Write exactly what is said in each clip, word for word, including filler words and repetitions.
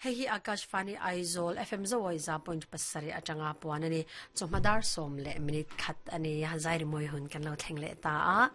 Hei hi Akashvani Aizawl F M Zoawi za point pasarih atanga puan a ni. Chawhma dar sawm leh minute khat a ni a, zai rimawi hun kan lo thleng leh ta a.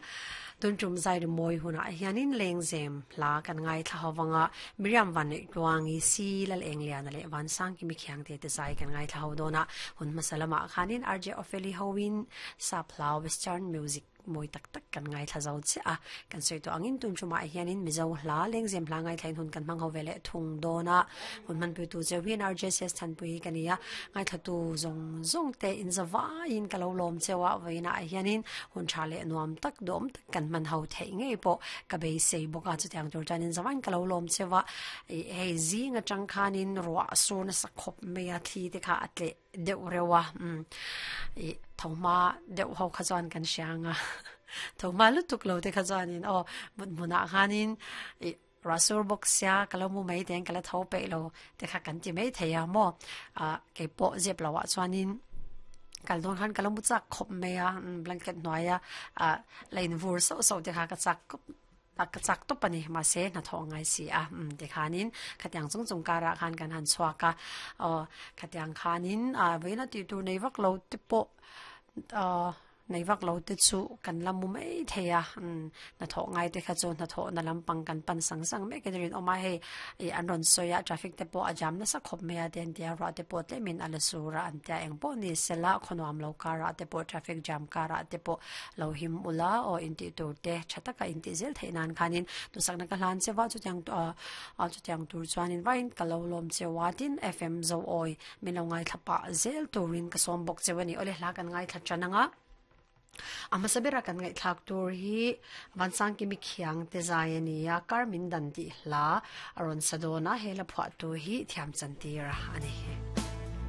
Tun tum zai rimawi hunah hianin lengzem hla kan ngaithla ho vanga Miriam Van Neih Tluangi Si Lal Eng Liana leh Van Sangkimi Khiangte te zai kan ngaithla ho dawn a. Hun hmasa lamah khanin R J Opheli hoin sap hla Western music mawi tak tak kan ngaithla zo chiah a, kan sawi tawh angin tun tumah hianin Mizo hla lengzem hla ngaithlain hun kan hmang ho ve leh thung dawn a, hun hmanpuitu cheu hian R J S S Thanpui hi ka ni a, ngaithlatu zawng zawng te in zavaiin ka lo lawm cheu a, vawiinah hianin hun tha leh nuam tak duhawm tak kan hman ho theih ngei pawh ka beisei bawk a, chutiang tur chuanin zavaiin ka lo lawm cheu a, ih hei zing atang khanin ruah sur nasa khawp mai a, thli te kha a tleh deuh reuh a, umm ih tho hma deuh ho kha chuan kan hria ang a, tho hma lutuk lo te kha chuanin aw mut hmunah khanin ih ruah sur bawk sia ka lo mu mai teng ka la tho peih lo te kha kan ti mai thei a maw ah keipawh zep loh ah chuanin kal dawn khan ka lo mu chak khawp mai a blanket hnuaia ah la invur sauh sauh te kha ka chak khawp a ka chak tawp a ni mahse hnathawh a ngai si a umm tikhanin khatiang chung chung karah khan kan han chhuak a aw khatiang khanin ah vawiin a tih tur nei vak lo te pawh ah nei vak lo te chu kan la mu mai thei a umm hnathawh ngai te kha chu hnathawh na lampang kan pan sang sang mek in a rinawm a hei ih an rawn sawi a traffic te pawh a jam nasa khawp mai a te an ti a ruah te pawh tlemin a la sur a an tia eng pawh ni sela khawnuam lo karah te pawh traffic jam karah te pawh lo him ula aw intih tur te tha taka intih zel theih nan khanin tusakna ka hlan cheu a chutiang ah chutiang tur chuanin vawiin ka lo lawm cheu a tin F M Zoawi min lo ngaithla pah zel turin ka sawm bawk cheu a ni awle hla kan ngaithla tan ang a a hmasa bera kan ngaihthlak tur hi Vansangkimi Khiang te zai a ni a kar min dan tih hla a rawn sa dawn a he la phuah tu hi thiam chan tir a ni.